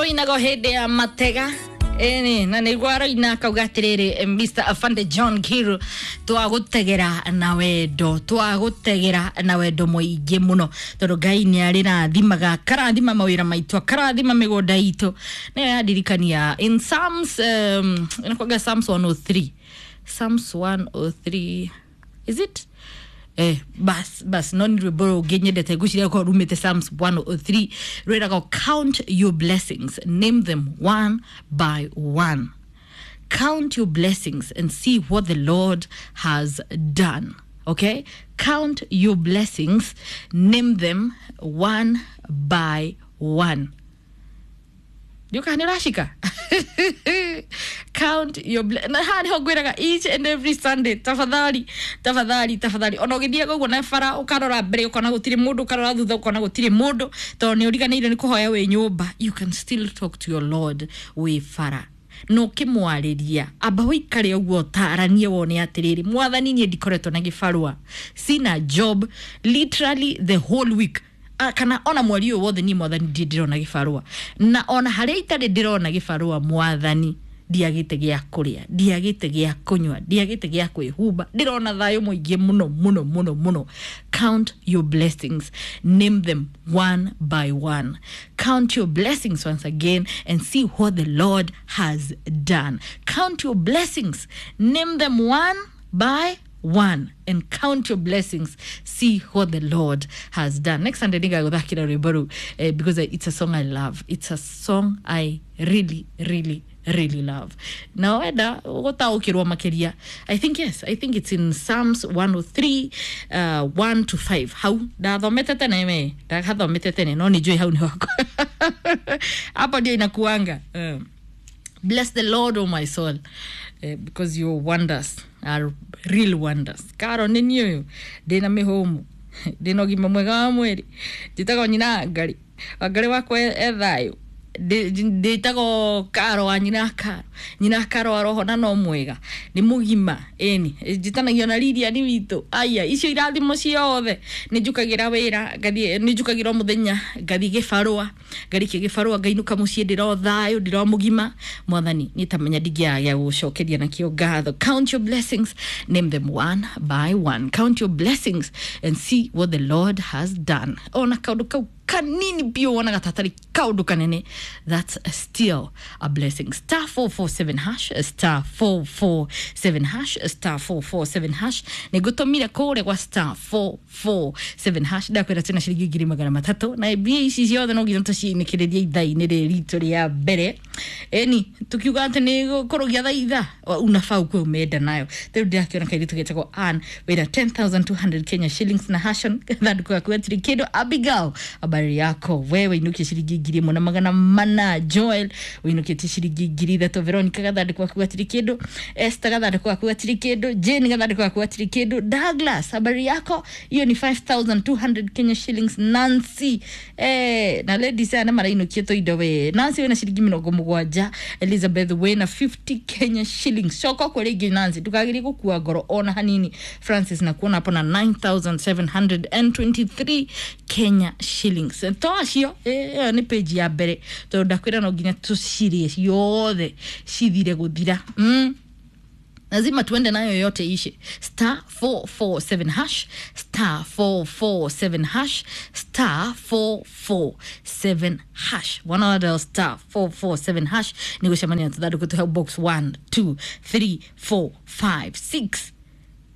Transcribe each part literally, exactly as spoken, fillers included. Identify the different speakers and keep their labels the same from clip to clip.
Speaker 1: Rũinagwo hĩndĩ ya matega ĩni na nĩguo aroina akauga atĩrĩrĩ Mister Afande John Kiru, twagũtegera na wendo, twagũtegera na wendo mũingĩ mũno tondũ Ngai nĩ arĩrathimaga, akarathima mawĩra maitũ, akarathima mĩgũnda itũ. Nĩyo yandirikania in Psalms, um, inakuwaga Psalms one oh three, Psalms one oh three, is it? Eh, bas bas, no nĩ rwĩmbo rũngĩ nyendete ngwĩciria korwo rumĩte Psalms one oh three, rwĩragwo, "Count your blessings, name them one by one. Count your blessings and see what the Lord has done." Okay, count your blessings, name them one by one. Ndiũkaga nĩ ũracika count your ble- na haha nĩho ngwĩraga each and every Sunday, tafadhali, tafadhali, tafadhali, ona ũgĩthiaga ũguo na bara, ũkarora mbere ũkona gũtirĩ mũndũ, ũkarora thutha ũkona gũtirĩ mũndũ, tondũ nĩ ũriganĩire nĩ kũhoya wĩ nyũmba, you can still talk to your Lord wĩ bara na ũkĩmwarĩria. Amba ũikare ũguo ũtaranie wone atĩrĩrĩ, Mwathani, niĩ ndikoretwo na gĩbarũa, sina job literally the whole week. Ah, kana ona mweri ũyũ wothe niĩ, Mwathani, ndirĩ ndĩrona gĩbarũa, na ona harĩa itarĩ ndĩrona gĩbarũa, Mwathani, ndiagĩte gĩa kũrĩa, ndiagĩte gĩa kũnyua, ndiagĩte gĩa kwĩhumba, ndĩrona thayũ mũingĩ mũno mũno mũno mũno. Count your blessings, name them one by one. Count your blessings once again and see what the Lord has done. Count your blessings, name them one by one, and count your blessings, see what the Lord has done. Next Sunday nĩngagũthakĩra rwĩmbo rũu, eh, because it's a song I love. It's a song I really, really, really love. Na wenda gũtaũkĩrwo makĩria, I think, yes, I think it's in Psalms one oh three, uh, one to five. Hau ndathomete tene, me ndagathomete tene, no nĩ njũĩ hau nĩ wakwa, hapo ndio inakuanga. um, bless the Lord, oh my soul, uh, because your wonders are real wonders. Karo nĩ niĩ ũyũ ndĩna mĩhũmũ, ndĩna ũgima mwega wa mwĩrĩ, njĩtagwo nyina Ngarĩ, Wangarĩ wakwa e thayũ. Ndĩtagwo Karo wa nyina Karo, nyina Karo wa roho, na no mwega, nĩ mũgima. Ĩni njĩtanagio na Lilian witũ. Aya, icio irathimo ciothe, nĩ njũkagĩra wĩra ngathiĩ, nĩ njũkagĩra o mũthenya ngathiĩ gĩbarũa, ngarĩkia gĩbarũa ngainũka mũciĩ, ndĩro thayũ, ndĩro mũgima. Mwathani, niĩ tamenya ndingĩaga gĩa gũcokeria nakĩo ngatho. Count your blessings, name them one by one. Count your blessings and see what the Lord has done. Ona kaũndũ kau kanini biũ wonaga tatarĩ kaũndũ kanene, that's still a blessing. Star four four seven hash, star four four seven hash, star four four seven hash. Nĩ ngũtũmire kũrĩa gwa star four four seven hash, ndakwĩra tena ciringi ngiri magana matatũ, na mbia ici ciothe no nginya tũcinĩkĩrĩrie ithaa-inĩ rĩrĩ ritũ rĩa mbere. Ĩni tukiuga atĩ nĩ kũrũgia thaa ithaa, unafaa ukuwe umeenda nayo. Rĩu ndĩrakĩona kairĩtu getagwo Ann wĩna ten thousand two hundred Kenya shillings na hashon thandũkũ gaku gatirĩ kĩndũ. Abigail, habari yako wewe? Inukie ciringi ngiri ĩmwe na magana mana. Joel, ũinũkĩtie ciringi ngiri ithatũ. Veronica, gathandũkũ gaku gatirĩ kĩndũ. Esther, gathandũkũ gaku gatirĩ kĩndũ. Jane, gathandũkũ gaku gatirĩ kĩndũ. Douglas, habari yako? Hiyo ni five thousand two hundred Kenya shillings. Nancy, eh, na ladies aya nĩ marainũkia tũindo we. Nancy wĩna ciringi mĩrongo mũgwanja. Elizabeth wĩna fifty Kenya shillings. Coka kwa rĩngĩ, Nancy, ndũkagerie gũkua ngoro ona hanini. Francis, na kuona hapo na nine thousand seven hundred and twenty-three Kenya shillings. To acio ĩyo nĩ page ya mbere, tondũ ndakwĩra no nginya tũcirie ciothe cithire gũthira. mm. lazima tuende nayo yote ishe. Star four four seven hash, star four four seven hash, star four four seven hash. One dial star four four seven hash ni gucemania na tũthandũkũ tũhe box one, two, three, four, five, six.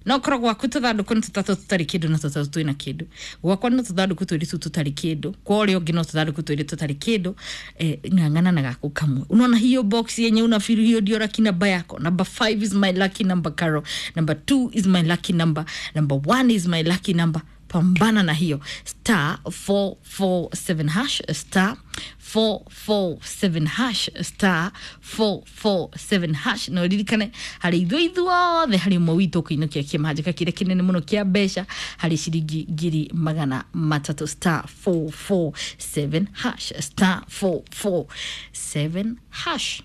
Speaker 1: No korwo gwaku tũthandũkũ nĩ tũtatũ tũtarĩ kĩndũ na tũtatũ twĩna kĩndũ, gwakwa no tũthandũkũ twĩrĩ tu tũtarĩ kĩndũ, kwa ũrĩa ũngĩ no tũthandũkũ twĩrĩ tũtarĩ kĩndũ. eh, ng'ang'ana na gaku kamwe. Unaona hiyo box yenye una feel hiyo ndio lucky number yako? Number five is my lucky number, Carol. Number two is my lucky number. Number one is my lucky number. Pambana na hiyo star four four seven hash, star four four seven hash, star four four seven hash. Na ũririkane harĩ ithuĩ ithuothe harĩ ũmwe witũ ũkũinũkia kĩmanjĩka kĩrĩa kĩnene mũno kĩa mbeca harĩ ciringi ngiri magana matatũ. Star four four seven hash, star four four seven hash.